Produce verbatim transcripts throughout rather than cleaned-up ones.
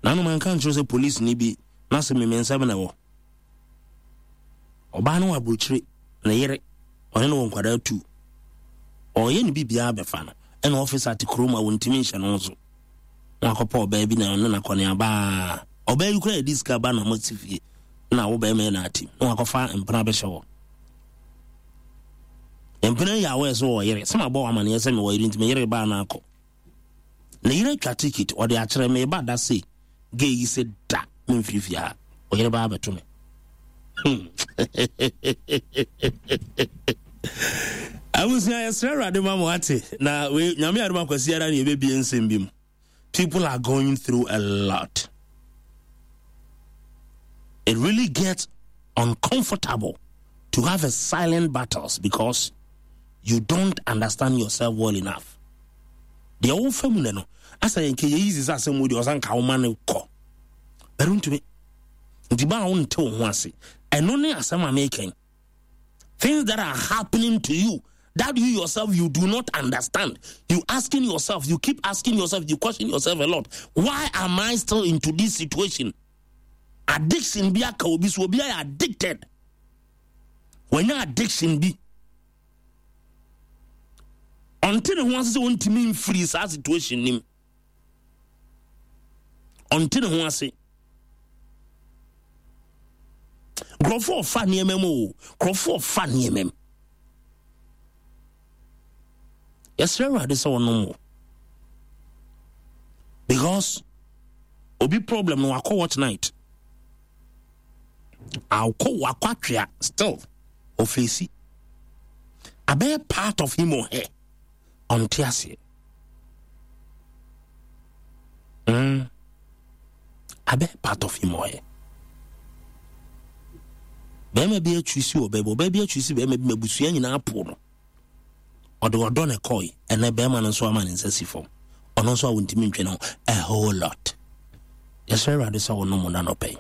Nanom anka nkyerɛ sɛ police ni bi na sɛ meme nsɛm na ɛwɔ. Ɔbaa no wɔ aburokyire, ne yere, ɔne no wɔ nkwadaa tu. Ɔyɛ ne biribiara bɛfa no, ɛna officer te kurom a wɔntumi nhyɛ no so. Na wakɔpɛ ɔbaa bi na ɔne no akɔneaba. Ɔbaa yi koraa yɛde sika ba na ɔmo te fie na wo bɛrima yɛ na ate na wakɔfa mpena bɛhyɛ hɔ. Mpena yi awɔ sɛ wɔ yere sɛ mabɔ wɔ amaneɛ sɛ mewɔ yere, nti me yere baa no akɔ. Ne yere atwa ticket, ɔde akyerɛ me ba da se gay yi sɛ da memfiri fie ha, ɔyere baa bɛto me. Hmm. Abusua, yɛsrɛ Awurade ma mo ate na wei Nyame adom akwasi ara ne yɛbɛbie nsɛm bi mu. People are going through a lot. It really gets uncomfortable to have a silent battles because you don't understand yourself well enough. Deɛ wofa mu nɛ no asa yɛn kɛyɛ easy sɛ asɛm wo deɛ ɔsan ka woma no kɔ bɛrɛ ntumi nti ba a wonte wo ho ase. Ɛno ne asɛm a mekɛn. Things that are happening to you that you yourself, you do not understand. You asking yourself, you keep asking yourself, you question yourself a lot: why am I still into this situation? Addiction bi aka obi so, obi ayɛ addicted, wɔnya addiction bi, ɔnte ne ho ase sɛ ɔntumi mfiri saa situation nim. Ɔnte ne ho ase. Nkurɔfoɔ ɔfa nneɛma mu o, nkurɔfoɔ ɔfa nneɛma mu. Yɛsrɛ Awurade sɛ ɔnom wo because obi problem no wakɔ watch night, akɔ wakɔ atwea, still ɔfeesi abɛyɛ part of him or her. Ɔnte aseɛ. mm. abɛyɛ part of him or her. Bɛrima bi atwi si wɔ baabi, ɔbaa bi atwi si bɛrima bi ma abusua nyinaa po no. Ɔde ɔdɔ ne kɔe. Ɛnɛ bɛrima no nso ama ne nsa si fam, ɔno nso a wɔntumi ntwe ne ho a whole lot. Yɛsrɛ Awurade sɛ wɔnom no anɔpɛ.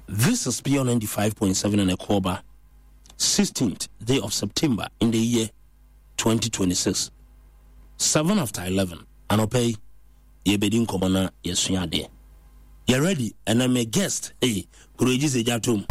This is Pure ninety-five point seven and Ɛkɔɔba, sixteenth day of September in the year twenty twenty-six, seven after eleven. Anɔpɛ yi yɛbɛdi nkɔmmɔ na yɛsua adeɛ. Yɛ ready. Ɛnɛ me guest, hey, kuro yi gye sɛ gya tom.